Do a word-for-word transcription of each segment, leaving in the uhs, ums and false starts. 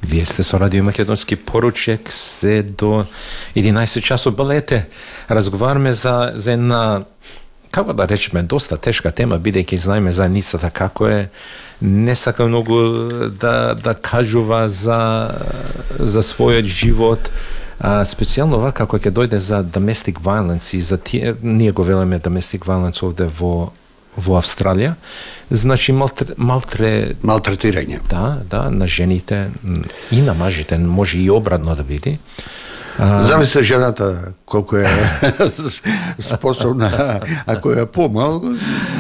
Вие сте со Радио Македонски поручек се до единаесет часот. Балете, разговараме за, за една, како да речеме, доста тешка тема, бидејќи знаеме за ницата како е. Не сака многу да, да кажува за, за својот живот. А, специјално ова како ќе дојде за domestic violence и за тие, ние го велеме domestic violence овде во во Австралија, значи малтре, малтре... малтретирање. Да, да, на жените и на мажите, може и обратно да биде. А... Зависи жената колку е способна, ако е помал,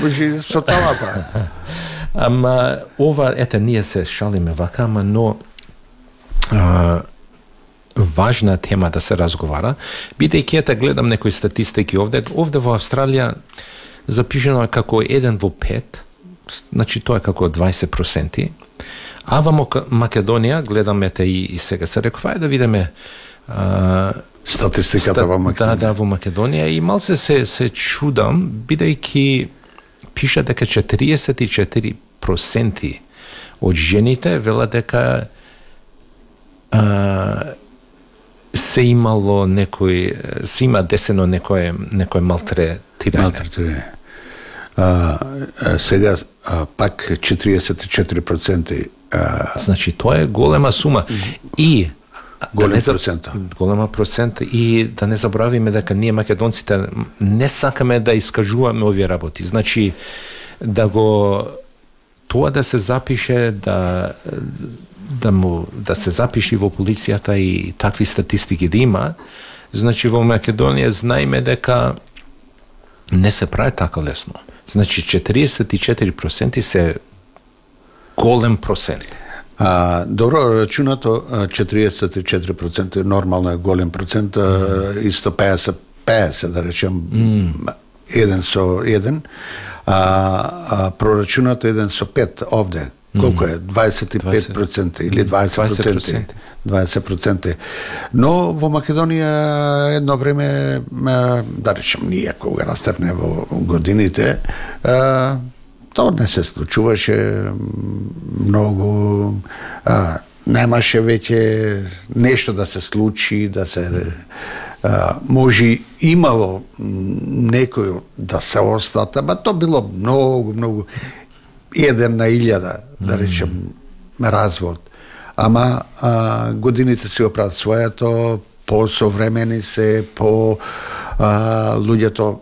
може со талата. Ама ова, ете, ние се шалиме вака, ама но а, важна тема да се разговара, бидејќи ете гледам некои статистики овде, овде во Австралија запишено е како еден во пет, значи тоа е како дваесет проценти, а во Македонија, гледаме те и, и сега се рекова, е да видиме а, статистиката во Македонија. Да, да, во Македонија, и малце се, се чудам, бидејќи пиша дека четириесет и четири проценти од жените велат дека а, се имало некој, се има десено некој, некој малтретирање. Малтретирање. А, а, сега а, пак четириесет и четири проценти. А... Значи тоа е голема сума. И голем да не, процент. Голема процент, и да не забравиме дека ние македонците не сакаме да искажуваме овие работи. Значи да го тоа да се запише, да да му да се запише во полицијата и такви статистики да има, значи во Македонија знаеме дека не се прави така лесно. Значи четириесет и четири проценти се голем процент. А, добро рачунато, четириесет и четири проценти нормално е голем процент, mm. исто пеесет пеесет да речем, mm. еден со еден, а, а прорачунато еден со пет овде. Колку е? дваесет и пет проценти или дваесет проценти. дваесет проценти. Но во Македонија едно време, да речем, ние кога растерне во годините, тоа не се случуваше многу, немаше веќе нешто да се случи, да се може имало некој да се остата, ба тоа било многу, многу еден на илјада, да речем, развод. Ама а, годините си оправат своето, по-современи се, по а, луѓето,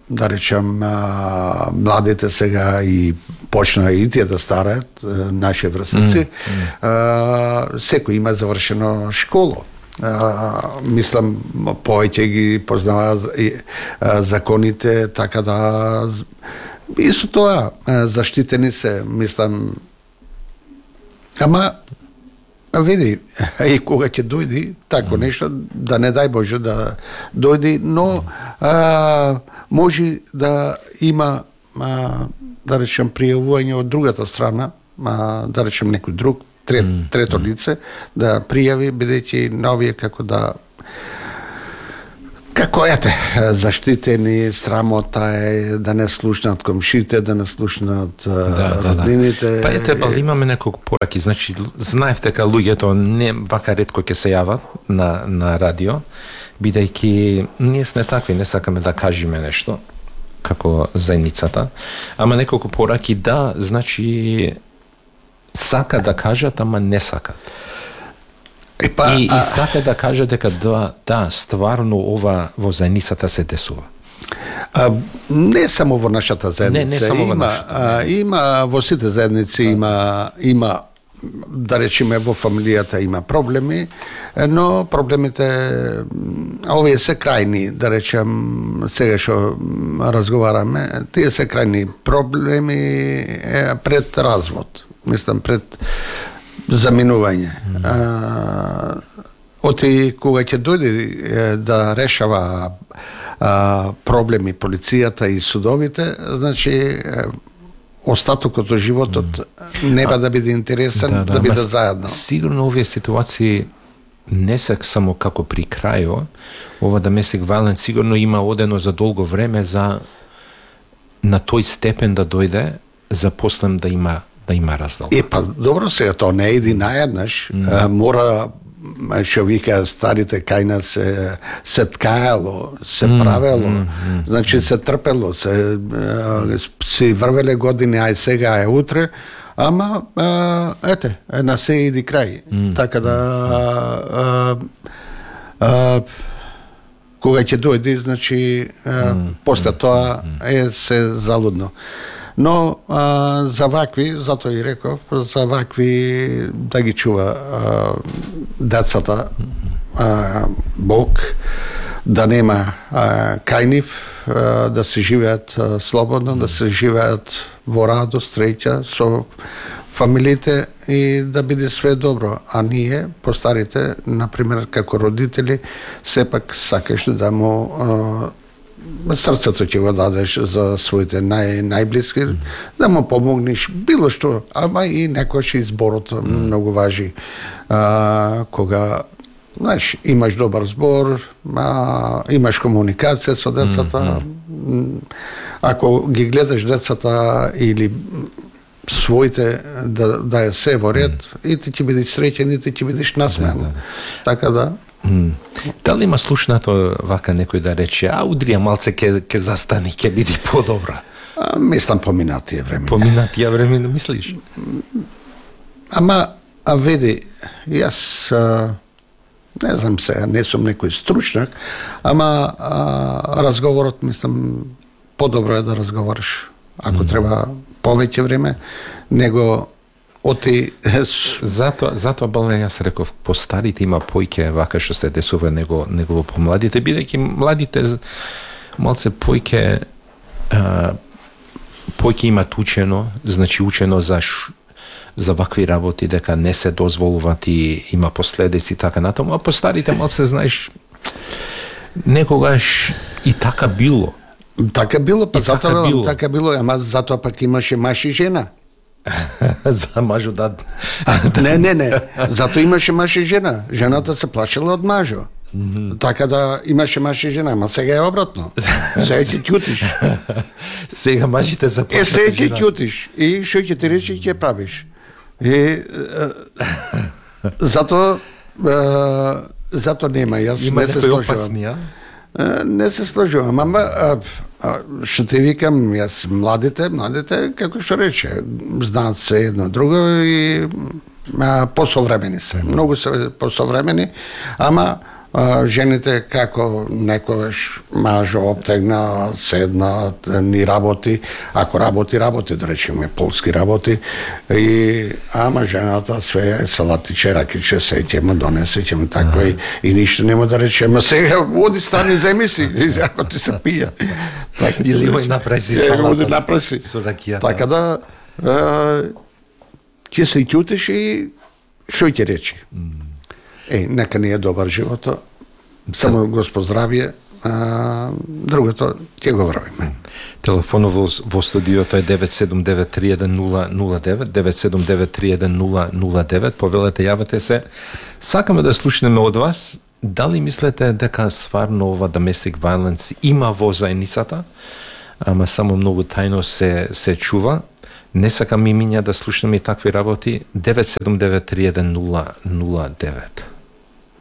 да речем, а, младите сега и почна и тие да стараат, наши врстници, mm, mm. секој има завршено школо. А, мислам, повеќе ги познава законите, така да исто тоа, заштитени се, мислам, ама, види, и кога ќе дојди, тако нешто, да не дај Боже да дојди, но а, може да има, а, да речем, пријавување од другата страна, а, да речем некој друг, трет, трето лице, да пријави, бидејќи новие како да како ете, заштитени, срамота е да не слушнат комшите, да не слушнат да, роднините. Да, да. Па ете, бал, имаме неколку пораки, значи, знаев дека луѓето не вака ретко ќе се јават на, на радио, бидејќи ние сме такви, не сакаме да кажеме нешто, како заедницата, ама неколку пораки, да, значи, сака да кажат, ама не сакат. Епа, и, а... и сака да каже дека да, да, стварно ова во заедницата се десува. А, не само во нашата заедница, не, не само има, во нашата, а, има во сите заедници, има, има, да речеме, во фамилијата има проблеми, но проблемите, овие се крајни, да речем, сега што разговараме, тие се крајни проблеми пред развод, мислам, пред заминување. Mm. А, оти кога ќе дојде да решава а, проблеми полицијата и судовите, значи остатокот од животот mm. нема да биде интересен, да, да, да биде заедно. Сигурно овие ситуации не се само како при крајот, ова domestic violence сигурно има одено за долго време за на тој степен да дојде, за послем да има да има раздолба. Е, па добро сега, тоа не иди наеднаш, mm. мора, што вика старите кај нас, се, се ткаело, се mm. правело, mm. Mm. значи се трпело, се си врвеле години, ај сега, ај утре, ама, а, ете, на се иди крај. Mm. Така да, а, а, кога ќе дојде, значи, а, mm. после тоа е се залудно. Но а, за вакви, затоа и реков, за вакви да ги чува а, децата а, Бог, да нема а, кај нив, а, да се живеат а, слободно, да се живеат во радост, среќа со фамилиите и да биде све добро. А ние, постарите, например, како родители, сепак сакаш да му а, срцето ќе го дадеш за своите нај, најблиски, mm. да му помогнеш било што, ама и некојаш изборот mm. многу важи. А, кога, знаеш, имаш добар збор, а, имаш комуникација со децата, mm. ако ги гледаш децата или своите да, да е се во ред, mm. и ти ќе бидеш среќен, и ти ќе бидеш насмеан. Да, да. Така да, Mm. Дали има слушнато вака некој да рече, а удрија малце ке, ке застани, ке биде подобра? А, мислам поминатија време. Поминатија време, мислиш? Ама, а види, јас а, не знам сега, не сум некој стручнак, ама а, разговорот, мислам, подобро е да разговараш. Ако mm. треба повеќе време, него оти затоа затоа балне јас реков по старите има појќе вака што се десува него него по младите, бидејќи младите малце појќе а, појќе имат учено, значи учено за ш, за вакви работи дека не се дозволуваат и има последици така натаму, а по старите малце знаеш некогаш и така било. Така било, па и затоа така било. така било, ама затоа пак имаше маж и жена. За мажо да... не, не, не. Зато имаше маж и жена. Жената се плашела од мажо. Mm -hmm. Така да имаше маж и жена, ама сега е обратно. Сега ќе ќутиш. Сега мажите се плашат. Е, сега ќе ќутиш. И што ќе ти рече, ќе правиш. И зато зато нема, јас има не се сложувам. Не се сложувам, ама што ти викам, јас младите, младите, како што рече, знаат се едно друго и а, посовремени се. Многу се посовремени, ама а, жените како некогаш мажо обтегна, седна, ни работи, ако работи, работи, да речеме, полски работи, и, ама жената све е салатиче, ракиче, се ќе му донесе, ќе му такво и, и ништо нема да рече, ма сега оди стани земи си, ако ти се пија. Така, или оди направи си салата со ракијата. Така да, ќе се ќутиш и што ќе речи. Е, нека ни е добар живото, само Господ здравие, а, другото ќе го врвиме. Телефонот во, во студиото е девет седум девет три еден нула нула девет, девет седум девет три еден нула нула девет, повелете, јавете се. Сакаме да слушнеме од вас, дали мислите дека стварно ова domestic violence има во заедницата, ама само многу тајно се, се чува? Не сакам и миња да слушнеме и такви работи. девет седум девет три еден нула нула девет.